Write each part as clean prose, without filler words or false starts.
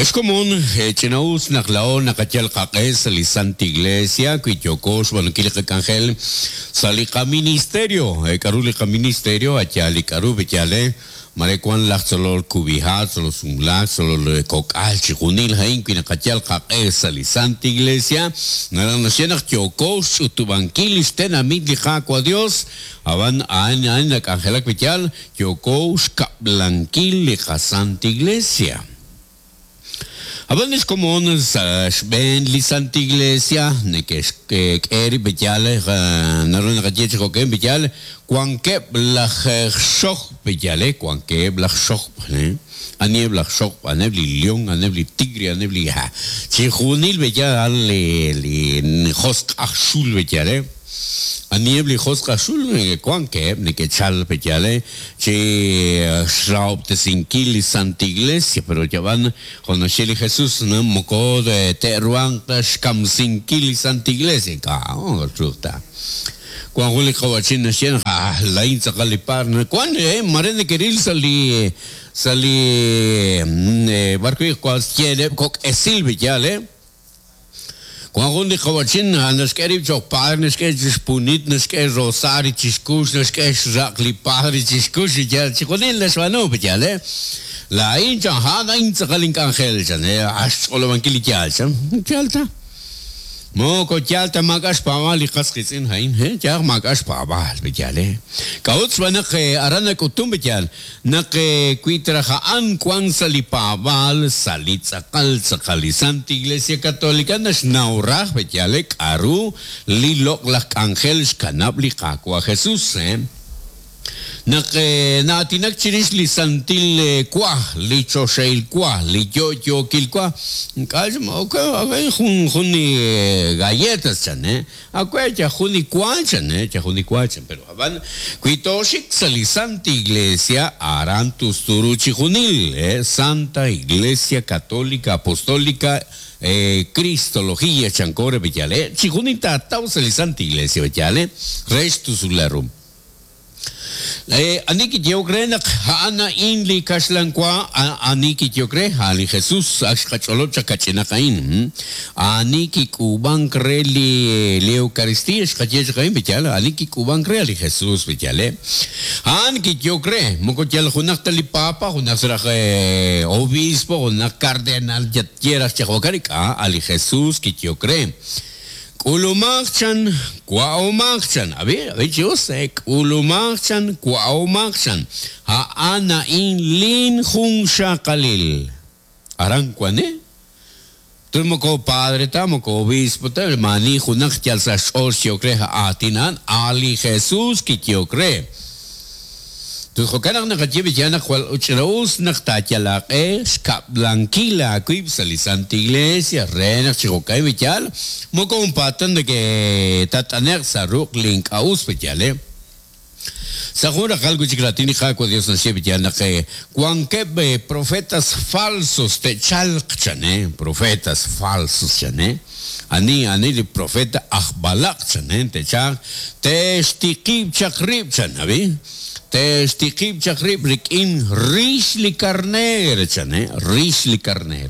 Ex komon, ch'ina-us naq laa'o naqayal qaq'e sa' li Santa Iglesia wi yooko xb'aanunkil li qak'anjel sa' li qaministerio. K'a'ru li qaministerio? A' yaal li k'a'ru, pe' yaal, Mare wan laj tzolol kub'iha', tzolol sumlaak, tzolol kok'al, chixjunil a'in wi naqayal qaq'e sa' li Santa Iglesia, naraj naxye naq yooko xch'utub'ankil lix tenamit li Qaawa' Dios, a'b'an a'an a'in nak'anjelak pe' yaal, yooko xkab'lankil li qaSanta Iglesia. Ab'an lix komon sa' xb'een li Santa Iglesia neke'xk'e rib' pe'yaal, naru naqaye chi jo'kan pe'yaal, wankeb' laj xojb' pe'yaal, wankeb' laj xojb', aniheb' laj xojb', a'aneb' li león, a'aneb' li tigre, a'aneb' li chixjunil pe'yaal li josq' aj xul pe'yaal. Aniheb' li josq' aj xul wankeb' neke'chalk pe' yaal chi xrahob'tesinkil li Santa Iglesia, pero yab'an jo' naxye li Jesús, moko te'ruhanq ta xkamsinkil li Santa Iglesia, ink'a' truuq ta. Wank jun li qawa'chin naxye naq ah, laa'in tz'aqal li paar, wank mare neke'ril sa' li sa' li b'arwi' wank kok' esil pe' yaal. Wan jun li qawa'chin naxk'e rib' cho'q padre, naxk'e chi xpunit, naxk'e rosario chi xkux, naxk'e xraq' li padre chi xkux, yaal chixjunil naxb'aanu, yaal e? Laa'in chan, a'an a'in tz'aqal ink'anjel, chan, a xch'olob'ankil li yaal, chan. Yaal ta. Moko yaal ta maak'a' xpaab'aal li qas qiitz'in a'in, he, yaal maak'a' xpaab'aal, yaal e. K'a'ut? Xb'aan naq aran nak'utun, yaal. Naq wi traj a'an wank sa' li paab'aal, sa' li tz'aqal tz'aqal li Santa Iglesia Católica naxnaw raj pe'yaal k'a'ru li loq'laj k'anjel xkanab' li Qaawa' Jesus. Naq na'aatinak chirix li santil wa, li choxahil wa, li yo'yookil wa, ink'a' jun jun li galletas chan, Awe' yal jun li wa chan, yal jun li wa chan, pero ab'an wi tooxik sa' li Santa Iglesia aran tustu ru chijunil, Santa Iglesia Católica Apostólica Cristología chanko re b'eyal, chijunil taataw sa' li Santa Iglesia b'eyal, re xtusulal ru. Ani kiyehok re naq a'an a'in li kaxlan wa? Ani kiyehok re? A'an li Jesús. Ak xqach'olob' chaq kach'inaq a'in. Ani kik'uub'ank re li Eucaristía? Xqaye chaq a'in, pe'yaal? Ani kik'uub'ank re? A' li Jesús, pe'yaal? A'an kiyehok re, moko yal junaq ta li Papa, junaq raj obispo, junaq cardenal, ye raj chi jo'kan, ink'a', a' li Jesús kiyehok re. K'ulumaq chan, wa'omaq chan. Ab'i, ab'i chi us, k'ulumaq chan, wa'omaq chan. A'an a'in lin junxaqalil. Aran wan, eh? Tul moko padre ta, moko obispo ta, maani junaq yal sa' xch'ool xyehok re aatin a'an, a' li Jesus kiyehok re. Ut jo'kan naq naqaye b'iyal naq jwal ch'ina-us naq taayal aaq'e xkab'lankil aawib' sa' li Santa Iglesia re naq chi jo'ka'in b'iyal moko junpaat ta neke'tat'ane'q sa' ruq' li ink'a' us b'iyal. Sa' jun raqal wi' chik raatin li Qaawa' Dios naxye b'iyal naq wankeb' profetas falsos te'chalq chan, profetas falsos chan. Ani ani li profeta aj b'alaq', chan, te'chalq, te'xtiqib' chaq rib', chan, ab'i, te'xtiqib' chaq rib' rik'in rix li karneer, chan, rix li karneer.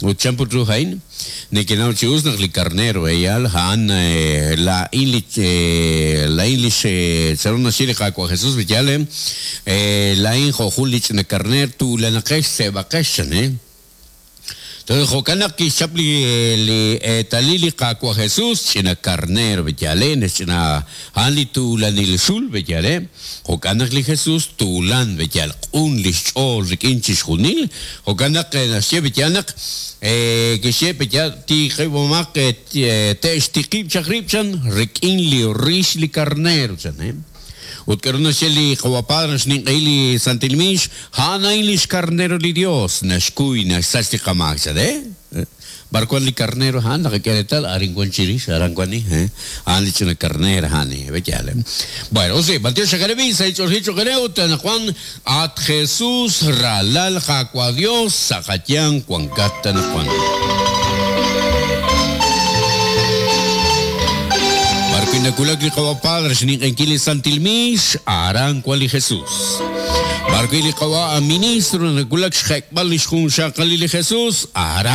Ut chan put ru a'in? Nekenaw chi us naq li karneer, yaal, a'an laa'in li, laa'in lix, chanru naxye li Qaawa' Jesus, yaal, laa'in jo' jun li ch'ina karneer, tuulanaqex, seeb'aqex, chan. Toj jo'kan naq kixchap li li eetalil li Qaawa' Jesus, ch'ina karneer b'eyale, ch'ina a'an li tuulanil xul b'eyale. Jo'kan naq li Jesus tuulan b'eyal, q'un li xch'ool rik'in chixjunil. Jo'kan naq naxye b'eyal naq kixye b'eyal tiqib'omaq te'xtiqib' chaq rib' chan rik'in li rix li karneer chan. Ut k'aru naxye li Qawa' Padre naxninq'ehi li Santil Miix? A'an a'in li xkarnero li Yos, naxkuy, naxsach li qamaak, chan. Eh? B'ar wank li karnero a'an? Naqak'e reetal, arin wank chirix, aran wank li, eh? A'an li ch'ina karneer a'an, eh? B'eyaal, eh? Bueno, osi, b'antiox xakareb' sa' li ch'oolejil cho'q eere ut anaqwan at Jesus ralal Qaawa' Dios sa' qayanq wankat anaqwan. B'ar wi' nawulak li Qawa' Padre xninq'ehinkil li Santil Miix, aran wan li Jesus. B'arwi' li qawa' ministro nawulak xjek'b'al li xjunxaqalil li Jesus, aran.